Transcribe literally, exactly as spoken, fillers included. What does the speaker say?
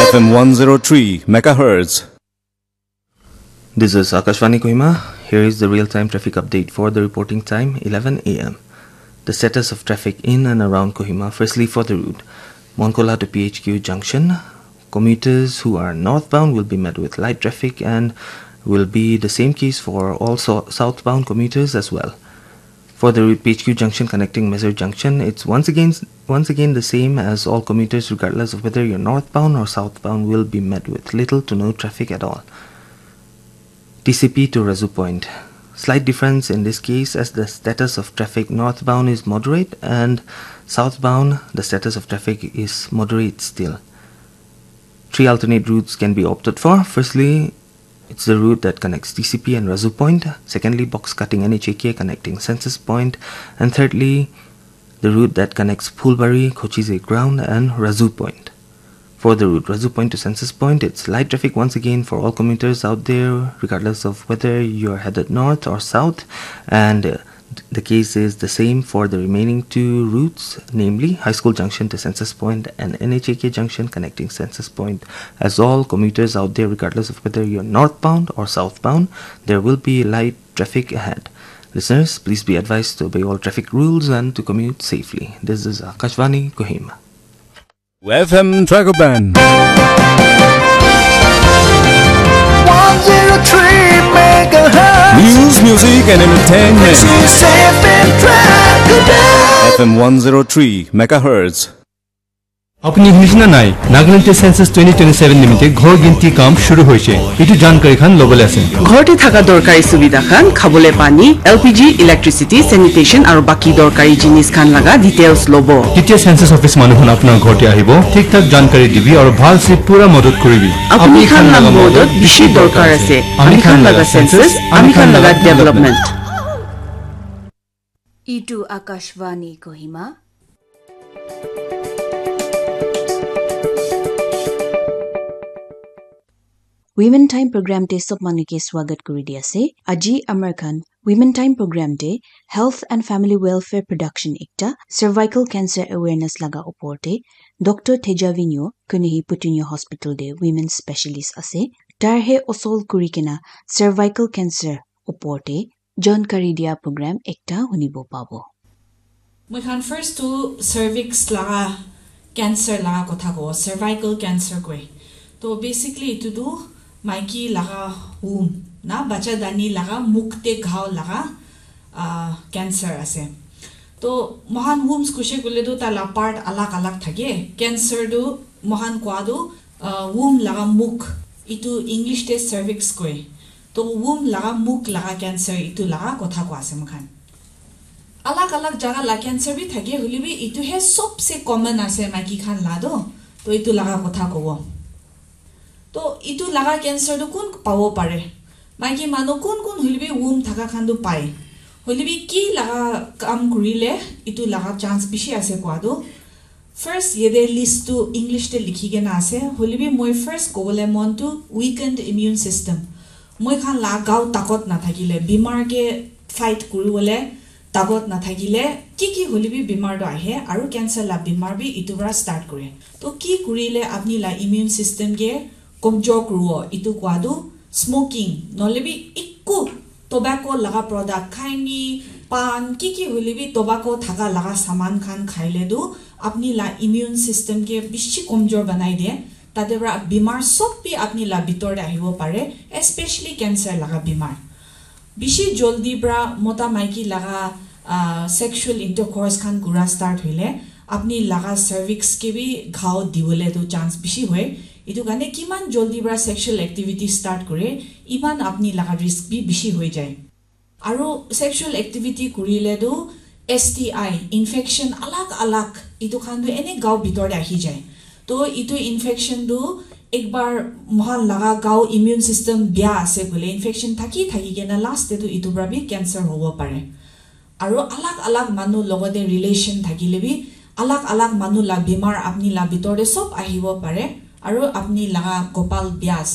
F M one zero three megahertz. This is Akashvani Kohima. Here is the real-time traffic update for the reporting time, eleven a m. The status of traffic in and around Kohima. Firstly, for the route Monkola to P H Q junction, commuters who are northbound will be met with light traffic and will be the same case for all so- southbound commuters as well. For the route P H Q junction connecting Mesur Junction, it's once again once again the same as all commuters, regardless of whether you're northbound or southbound, will be met with little to no traffic at all. T C P to Razu Point. Slight difference in this case, as the status of traffic northbound is moderate and southbound the status of traffic is moderate still. Three alternate routes can be opted for. Firstly, it's the route that connects T C P and Razu Point. Secondly, box cutting N H A K connecting Census Point. And thirdly, the route that connects Phulbari, Khochije Ground, and Razu Point. For the route Razu Point to Census Point, it's light traffic once again for all commuters out there, regardless of whether you're headed north or south. And uh, the case is the same for the remaining two routes, namely High School Junction to Census Point and N H A K Junction connecting Census Point. As all commuters out there, regardless of whether you're northbound or southbound, there will be light traffic ahead. Listeners, please be advised to obey all traffic rules and to commute safely. This is Akashvani Kohima. F M Dragoban. One zero three megahertz. News, music, and entertainment. This is F M Dragoban. F M one zero three megahertz. আপুনি শুনিছে নে নাই? নাগালেণ্ডত সেন্সাছ টুৱেণ্টি টুৱেণ্টি ছেভেন নিমিত্তে ঘৰ গিনতি কাম শুৰু হৈছে। এইটো জানকাৰী খান ল'বলৈ আছে। ঘৰতে থকা দৰকাৰী সুবিধা খান, খাবলৈ পানী, এল পি জি, ইলেক্ট্ৰিচিটি, চেনিটেশ্যন আৰু বাকী দৰকাৰী জিনিছ খান লগা ডিটেইলছ ল'ব। তেতিয়া সেন্সাছ অফিচ মানুহ খান আপোনাৰ ঘৰতে আহিব, ঠিক ঠাক জানকাৰী দিবি আৰু ভালছে পুৰা মদত কৰিবি। আপুনি খান লগা মদত বেছি দৰকাৰ আছে। আমি খান লগা সেন্সাছ, আমি খান লগা ডেভেলপমেণ্ট। Itu Akashvani Kohima. Women Time program te sob manu ke swagat kuri di ase. Aji amar khan Women Time program te Health and Family Welfare Production ekta cervical cancer awareness laga upor te Doctor Teja Vinyo, kune hi Putunyo Hospital te women specialist ase. Tar he osol kuri kena cervical cancer upor te jankari dia program ekta hunibo pabo. Moi khan first tu cervix laga cancer laga kotha kobo, cervical cancer koi. To basically itu tu maiki laga womb na bacha dani laga mukh te ghao laga ah, cancer ase. To mohan wombs kushe kule tu tala part alag alag thake. Cancer tu mohan koa tu ah, womb laga mukh, itu English te cervix koi. To womb laga mukh laga cancer itu laga kotha koa ase moikhan. Alag alag jaga la cancer bi thake, hoilebi itu he sobse common ase maiki khan la do. To itu laga kotha kobo. To itu laga cancer tu kun pabo pare? Maiki manu kun kun hoilebi womb thaka khan tu pai. Hoilebi ki laga kam kurile itu laga chance bishi ase koa tu. First, yate list tu English te likhi kena ase. Hoilebi moi first kobole mon tu weakened immune system. Moi khan la gao takot nathakile, bimar ke fight kuribole takot nathakile, ki ki hoilebi bimar tu ahe, aru cancer la bimar bi itu para start kure. To ki kurile apni la immune system ke komjor kuribo, itu koa tu smoking, nohoilebi ekku tobacco laga product, khaini, pan, ki ki hoilebi tobacco thaka laga saman khan khaile tu apni la immune system ke bishi komjor banai de. Tate para bimar sob bi apni la bitor te ahibo pare, especially cancer laga bimar. Bishi joldi para mota maiki laga ah, sexual intercourse khan kura start hoile apni laga cervix ke bi ghao dibole tu chance bishi hoi. Itu karne kiman joldi para sexual activity start kore, iman apni laga risk bi bishi hoi jai. Aru sexual activity kurile tu S T I infection alag alag itu khan tu ene gao bitor te ahi jai. To itu infection tu ekbar mohan laga gao immune system bia ase koile infection thaki thaki kena last te tu itu para bi cancer hobo pare. Aru alag alag manu logote relation thakile bi alag alag manu la bimar apni la bitor te sob ahibo pare. Aru apni laga kopal bia ase.